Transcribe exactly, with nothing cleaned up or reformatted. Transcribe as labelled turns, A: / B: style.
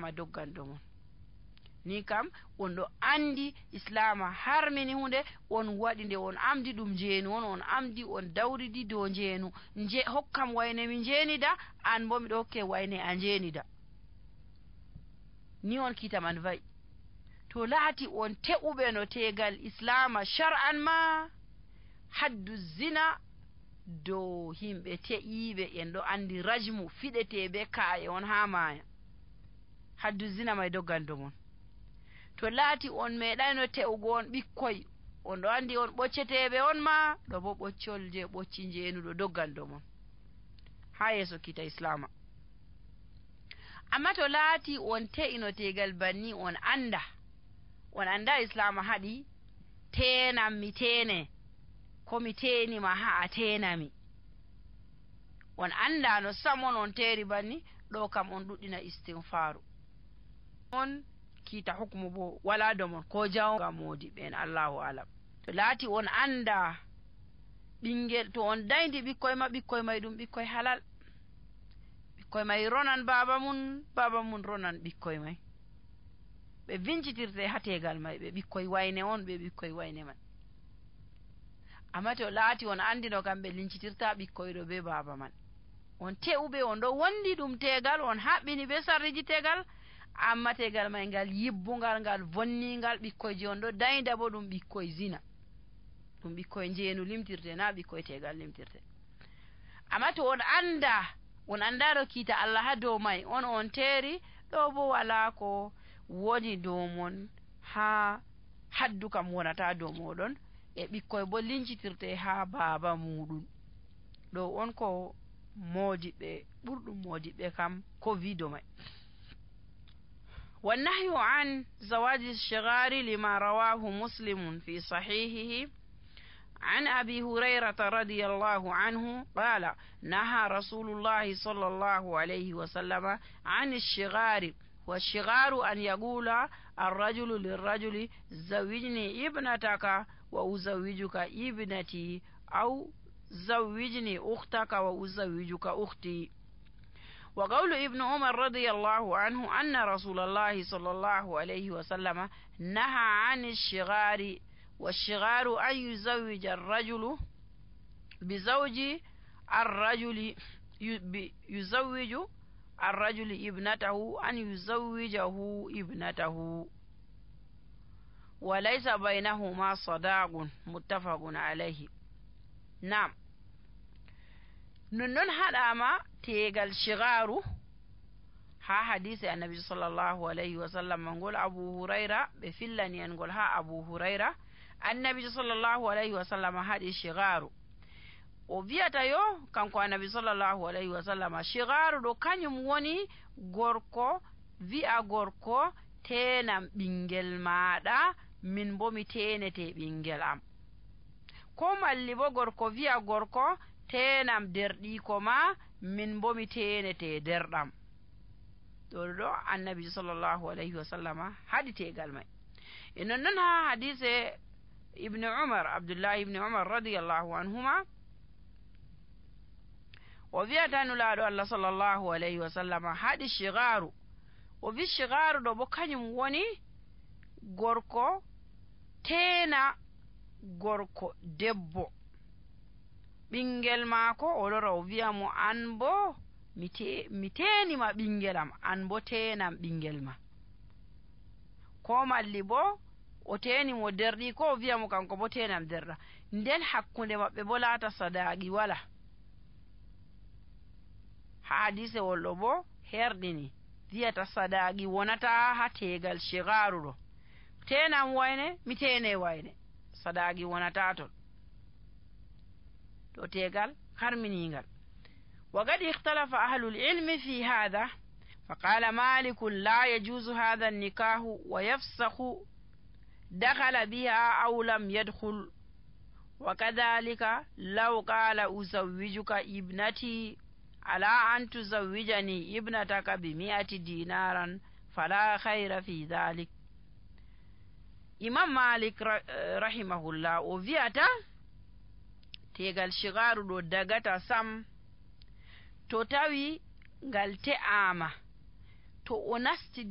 A: islama doggando mon. Ni kam on ɗo andi islama harmini hunde, on waɗi nde on amdi ɗum jeenu on, on amdi on dawridi dow jeenu. nje hokkam wayne mi jeenida, an bo miɗo hokke wayne a jeenida. Ni on kita man va'i. To laati on te'uɓe no tegal islama shar'an ma, haddu zina dow himɓe te'iɓe en ɗo andi rajmu fiɗete be ka'e on ha maya. Haddu zina may doggando mon. To laati on meeɗayno te'ugo on ɓikkoy, on ɗo andi on ɓocceteɓe on ma, ɗo bo ɓoccol je ɓocci jeenuɗo doggando mon ha yeso kita islama. Amma to laati on te'ino tegal banni, on anda on anda islama haɗi tenam mi tene, ko mi tenima ha a tenami, on anda no samon on teri banni, ɗo kam on ɗuɗɗina istinfaru. On kita hukmu bo wala do mon ko jawnga modi ben Allahu alam. To laati on anda ɓingel, to on dayndi ɓikkoy ma, ɓikkoy may ɗum ɓikkoy halal, ɓikkoy may ronan baba mun, baba mun ronan ɓikkoy may, ɓe vincitirte ha tegal may, ɓe ɓikkoy wayne on, ɓe ɓikkoy wayne man. Amma to laati on andi no kamɓe lincitirta ɓikkoy ɗo be baba man, on te'uɓe on ɗo wondi ɗum tegal, on haɓɓini be sarriji tegal, amma tegal may ngal yibbungal, ngal vonningal, ɓikkoyji on ɗo daynda bo ɗum ɓikkoy zina, ɗum ɓikkoy jeenu limtirte, na ɓikkoy tegal limtirte. Amma to on anda on andaro kiita Allah ha dow may, on on teeri, ɗo bo wala ko woni dow mon ha haddu kam wonata dow moɗon, e ɓikkoy bo lincitirte ha baba muɗum. ɗo on ko modiɓe ɓurɗum modiɓe kam ko wido may. والنهي عن زواج الشغار لما رواه مسلم في صحيحه عن أبي هريرة رضي الله عنه قال نهى رسول الله صلى الله عليه وسلم عن الشغار. والشغار أن يقول الرجل للرجل زوجني ابنتك وأزوجك ابنتي، أو زوجني أختك وأزوجك أختي. وقول ابن عمر رضي الله عنه أن رسول الله صلى الله عليه وسلم نهى عن الشغار. والشغار أن يزوج الرجل بزوج الرجل يزوج الرجل ابنته أن يزوجه ابنته وليس بينهما صداق متفق عليه. نعم، ننن هذا tegal shigaru ha hadisi annabi sallallahu alaihi wasallam ngol Abu Huraira be fillani en ngol ha Abu Huraira, annabi sallallahu alaihi wasallam hadi shigaru o viata yo kanko annabi sallallahu alaihi wasallam shigaru do kanyum woni gorko vi'a gorko tenam ɓingel maɗa, min bo mi tenete ɓingel am, ko malli bo gorko vi'a gorko tenam derɗiko ma, min bo mi tenete derɗam. ɗo ɗo annabi sallallahu alaihi wasallama haɗi tegal may. e non noon ha hadise ibnu umar, abdullah ibnu umar radiyallahu anhuma, o wiyata nulaɗo Allah sallallahu alaihi wasallama haɗi shigaru. o wi shigaru ɗo bo kañum woni gorko tena gorko debbo ɓingel maako, o lora o wiya mo an bo mi tenima ɓingel am, an bo tenam ɓingel ma. ko malli bo o teni mo derɗi, ko o wiya mo kanko bo tenam derɗa, nden hakkunde maɓɓe bo laata sadaqi wala. ha hadise wolɗo bo herɗini wiyata sadaqi wonata ha tegal shigaru ɗo, tenam wayne mi tene wayne, sadaqi wonata ton to tegal harminingal. وقد اختلف أهل العلم في هذا، فقال مالك لا يجوز هذا النكاح ويفسخ دخل بها أو لم يدخل. وكذلك لو قال أزوجك ابنتي على أن تزوجني ابنتك بمئة دينارا فلا خير في ذلك. إمام مالك رحمه الله وفيتا tegal shigaru ɗo dagata sam to tawi ngal te'ama, to o nasti